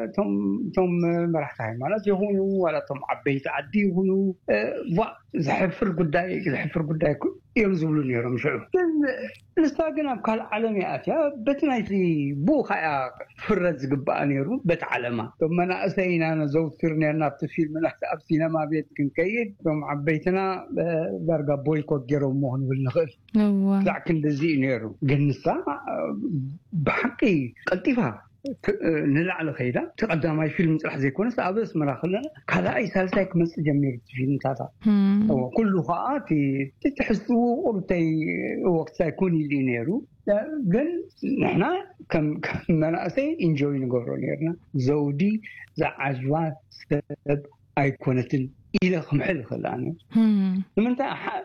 እቶም እቶም መራሕቲ ሃይማኖት ይኹኑ ዋላ እቶም ዓበይቲ ዓዲ ይኹኑ፣ እ፣ ዋ፣ ዘሕፍር ጉዳይ፣ ዘሕፍር ጉዳይ እኮ እዮም ዝብሉ ነይሮም ሽዑ። ግን ንሳ ግን ኣብ ካልእ ዓለም እያ ኣትያ። በቲ ናይቲ ብኡ ከኣ ፍረድ ዝግባኣ ነይሩ፣ በቲ ዓለማ። እቶም መናእሰይ ኢና ነዘውትር ነርና ኣብቲ ፊልም፣ ኣብቲ፣ ኣብ ሲነማ ቤት ክንከይድ፣ እቶም ዓበይትና፣ እ፣ ዳርጋ ቦይኮት ገይሮምዎ ክንብል ንኽእል። እዋ። ክሳዕ ክንድዚ እዩ ነይሩ። ግን ንሳ፣ እ፣ ብሓቂ ቀልጢፋ ክ-፣ ንላዕሊ ከይዳ፣ እቲ ቀዳማይ ፊልም ጥራሕ ዘይኮነስ፣ ኣብ ኣስመራ ከለና ካልኣይ ሳልሳይ ክመጽእ ጀሚሩ እቲ ፊልምታታ። እም። እዎ፣ ኩሉ ከኣ እቲ፣ እቲ ትሕዝትኡ ቁሩብተይ፣ እዎ፣ ክሳይ ኮን ኢሉ እዩ ነይሩ። ግን ንሕና ከም፣ ከም መናእሰይ ኢንጆይ ንገብሮ ነይርና። ዘውዲ ዝዓጅባ ሰብ ኣይኮነትን ኢለ ክምሕል ይኽእል ኣነ። እም። ንምንታይ ሓ-፣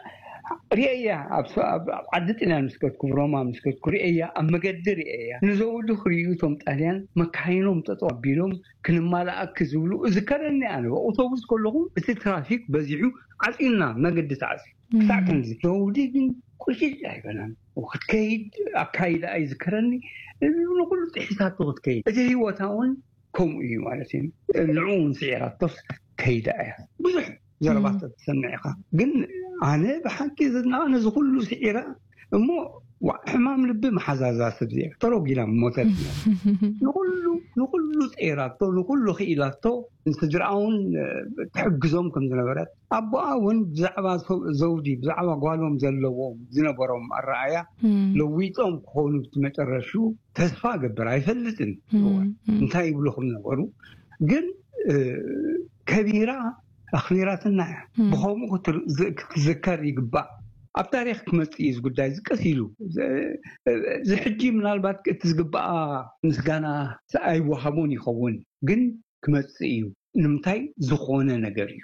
ርኤያ፣ ኣብ ስ-፣ ኣብ፣ ኣብ ዓዲ ጥልያን ምስ ከድኩ፣ ሮማ ምስ ከድኩ ርኤያ፣ ኣብ መገዲ ርኤያ። ንዘውዲ ክርእዩ እቶም ጣልያን መካይኖም ጠጠው ኣቢሎም ክንማልኣኪ ዝብሉ እዝከረኒ ኣነ። ኣውቶቡስ ከለኹ እቲ ትራፊክ በዚሑ ዓጺና መገዲ ተዓጽዩ። እም። ክሳዕ ክንዚ ዘውዲ ግን ቁጭጭ ኣይበላን። ክትከይድ ኣካይዳ ኣይዝከረኒ። ንኹሉ ጥሒሳቶ ክትከይድ። እቲ ህይወታ እውን ከምኡ እዩ ማለት እዩ። ንዕኡ እውን ስዒራቶስ ከይዳ እያ። ብዙሕ ዘረባት እም። ትሰምዕ ኢኻ። ግን ኣነ ብሓቂ ዝድነቓ ነዚ ኩሉ ስዒራ እሞ ዋ-፣ ሕማም ልቢ መሓዛዛ ሰብ እዚኣ ተሮጊላ ሞተት። ንኹሉ፣ ንኹሉ ጸይራቶ፣ ንኹሉ ክኢላቶ፣ ንስድራኣ እውን፣ እ፣ ትሕግዞም ከም ዝነበረት፣ ኣቦኣ እውን ብዛዕባ ሰው-፣ ዘውዲ፣ ብዛዕባ ጓሎም ዘለዎም ዝነበሮም ኣረኣእያ እም። ለዊጦም ክኾኑ እቲ መጨረሹ ተስፋ እገብር፣ ኣይፈልጥን እም፣ እም። እንታይ ይብሉ ከም ነበሩ። ግን፣ እ፣ ከቢራ ኣኽቢራትና እያ። እም። ብኸምኡ ክትር-፣ ዝ-፣ ክትዝከር ይግባእ። ኣብ ታሪኽ ክመጽእ እዩ እዚ ጉዳይ፣ እዚ ቀስ ኢሉ። ዝ-፣ እዚ ሕጂ ምናልባት እቲ ዝግባኣ ምስጋና ኣይወሃቦን ይኸውን፣ ግን ክመጽእ እዩ። ንምንታይ? ዝኾነ ነገር እዩ።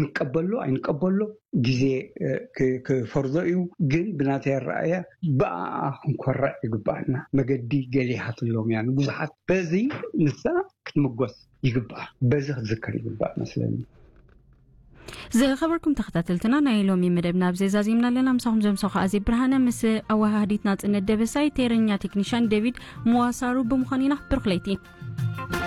ንቀበሎ ኣይንቀበሎ ግዜ፣ እ፣ ክ-፣ ክፈርዶ እዩ። ግን ብናተይ ኣረኣእያ ብኣኣ ክንኮርዕ ይግባኣና። መገዲ ገሊሃትሎም እያ ንብዙሓት። በዚ ንሳ ክትምጎስ ይግባኣ። በዚ ክትዝከር ይግባእ መስለኒ። ዝኸበርኩም ተኸታተልትና፣ ናይ ሎሚ መደብና ኣብዚ ዛዚምና ኣለና። ምሳኹም ዘምሰኹ ኣዜ ብርሃነ ምስ ኣወሃህዲት ናጽነት ደበሳይ፣ ቴረኛ ቴክኒሻን ዴቪድ መዋሳሩ ብምዃን ኢና። ብሩኽ ለይቲ።